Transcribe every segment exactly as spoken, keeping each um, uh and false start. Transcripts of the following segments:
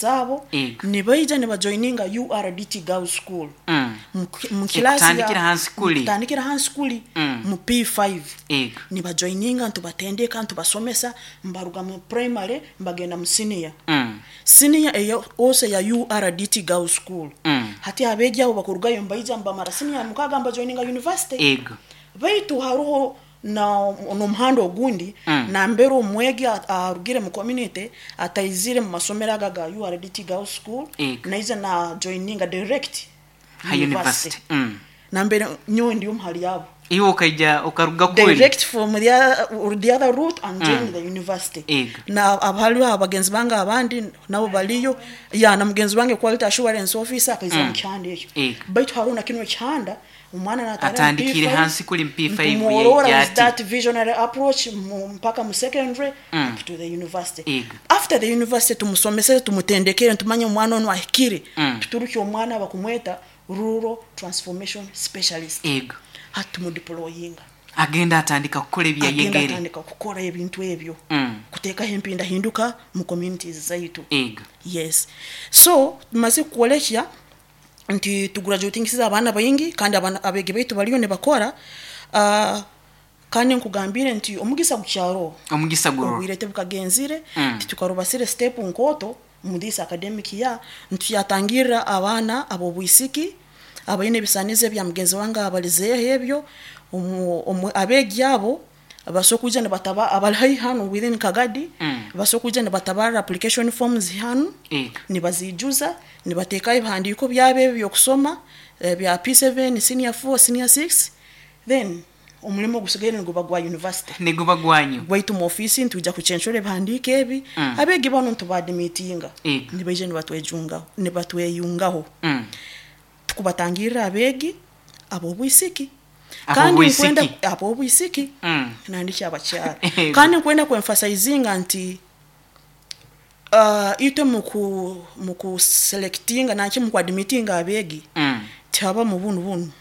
Zaabo Ego. nibaija nibajoininga U R D T Girls School Mm. mu mu class ya- Ekutandikira hansi kuli. Kutandikira hansi kuli, Mm. mu P five. Ego. Nibajoininga, ntubatendeka, ntubasomesa, mbaruga mu primary mbagenda mu senior, Mm. senior eyo ose ya U R D T Girls School. Mm. Hati abeegi abo bakurugayo mbaija mbamara senior mukaaga, mbajoininga university. Ego. Baitu haruho na n'omuhanda ogundi, Mm. nambere omwegi a- arugire mu community, ataizire mu masomero aga ga U R D T Girls School, Ego. naija na joininga direct Ha university. Mm. Nambere nyowe ndi omu hali abo. Iwe ukaija ukaruga kuli. Direct from the other, the other route and join the university. Ego. Na abaliho abagenzi bange abandi nabo baliyo ya, na mugenzi wange quality assurance officer akaiza mu kihanda ekyo. Ego. Baitu hariho na kino ekihanda omwana natara mu Atandikire P five, hansi kuli mu P five. ntumworora Yaija with ati. that visionary approach mu- mpaka mu secondary, Mm. up to the university. Ego. After the university, tumusomesere, tumutendekere, tumanye omwana ono ahikire, Mm. tuturuke omwana bakumweta rural transformation specialist. Ego. Hati tumudeployinga. Agenda atandika kukola Agenda ebyayegere. atandika kukora ebintu ebyo, Mm. kuteekaho empindahinduka mu communities zaitu. Ego. Yes, so tumaze kukolekya nti tugraduatingisiza abaana baingi, kandi abaana abeegi baitu baliyo nibakora. uh, kandi nkugambire nti omugisa gukyaro. Omugisa guro. Obwire tebukagenzire. Mm. Titukarubasire step nkoto mu this academic year, ntuyatangirira abaana ab'obwisiki abaine ebisanizo ebya mugenzi wange abalizeeho ebyo. omu- omu- abeegi abo basobola kwija nibataba abali haihi hanu within Kagadi, Mm. basobola kwija nibatabara application forms hanu, Ego. nibazijuza, nibateekaho ebihandiiko byabo ebyo byokusoma, eh, bya P seven, senior four, senior six, then omulimo ogusigaire niguba gwa university. Niguba gwanyu. Gwaitu mu ofisi ntwija kucenshura ebihandiiko ebi. Mm. Abeegi bano ntubaadimitinga, Ego. nibaija nibatwejungaho, nibatweyungaho. Mm. Tukubatangirira abeegi ab'obwisiki. Ab'obwisiki. Nkwenda ab'obwisiki, Mm. nandiki abakyara. Ego. Kandi nkwenda kuemphasizinga nti uh, itwe muku mukuselectinga nanki mukuadmitinga abeegi, Mm. tihaba mu bunu bunu,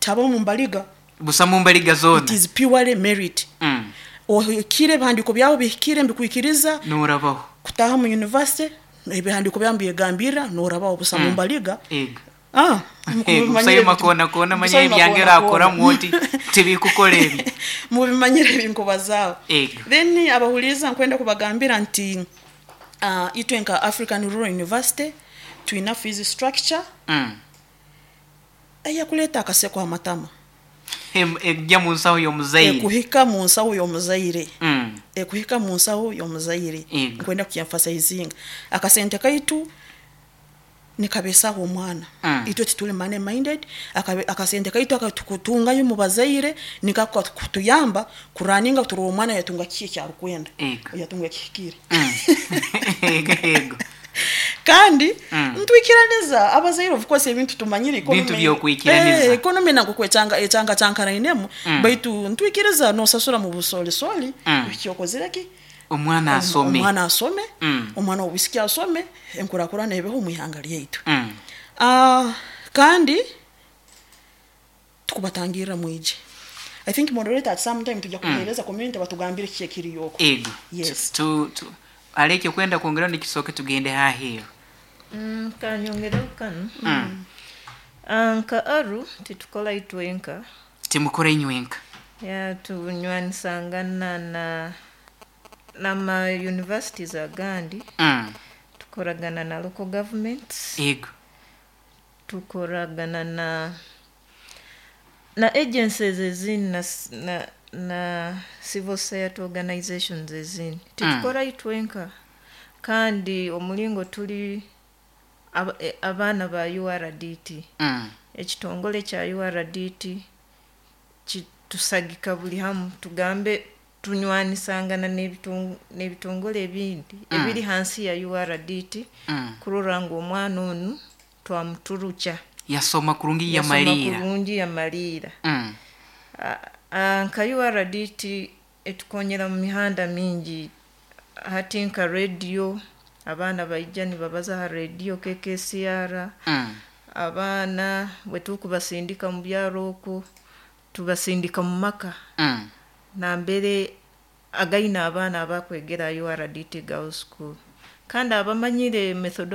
tihaba mu mbaliga. Busa mu mbaliga zona. It is purely merit. Mm. Ohikire, ebihandiiko byawe bihikire, mbikwikiriza Norabaho. kutaha mu university, ebihandiiko byawe mbigambira, norabaho busa mu mbaliga. Ego. Ah, busayo makona kona manya ebyangera akora mwoti tibikukola ebi. Mubimanyire ebinkubazaho. Ego. Then abahuliza, nkwenda kubagambira nti uh, itwe nka African Rural University twina fees structure Mm. eyakuleeta akaseko amatama. Em- ejja mu nsawo y'omuzaire. Ekuhika mu nsawo y'omuzaire. Mm. Ekuhika mu nsawo y'omuzaire. Ego. Nkwenda kukyemphasizinga, akasente kaitu nikabesaho omwana. Mm. Itwe tituli money minded. Akabe- akasente kaitu akatukutungayo mu bazaire nikako kutuyamba kuraninga turora omwana yatunga kiki ekyarukwenda, Ego. yatunga ekihikire. Mm. ego ego Kandi Mm. ntwikiraniza abazaire, of course ebintu tumanyire. Bintu byokwikiraniza. Eh, economy nako kwechanga echanga chankarainemu, Mm. baitu ntwikiriza nosasura mu busolisoli, Mm. ekyokozire ki? Omwana asome. Omwana asome. Mm. Omwana wobwisiki asome, enkurakurana ebeho mu ihanga lyaitu. Mm. Ah, kandi tukubatangirira mwije. I think moderator, at some time tujja kuhereza community batugambire kiki ekiriyoko. Ego. Yes. Tu- tu aleke kwenda kwongera nikisooke tugende haheeru. Mm, kanyongereho kanu. Mm. Ah, nka A R U titukola itwenka. Timukora inywenka. Ya, tunywanisangana na nama universities agandi, Mm. tukoragana na local governments, ego tukoragana na na agencies ezindi na, s- na, na civil society organizations ezindi. Titukora itwenka. Kandi omulingo tuli aba- e- abaana ba U R D T, Mm. ekitongole kya U R D T kitusagika buli hamu. Tugambe tunywanisangana n'ebiton- n'ebitongole ebindi ebiri hansi ya U R D T Mm. kurora ngu omwana onu twamuturukya, yasoma kurungi, yasoma yamaliira. Kurungi yamaliira. Mm. Ah, ah, nka U R D T etukonyera mu mihanda mingi. Hati nka radio, abaana baija nibabaza ha radio K K C R. Mm. Abaana bwe tukubasindika mu byaro okwo, tubasindika mu maka Mm. nambere againa abaana abakwegera U R D T Girls School kandi abamanyire methodology.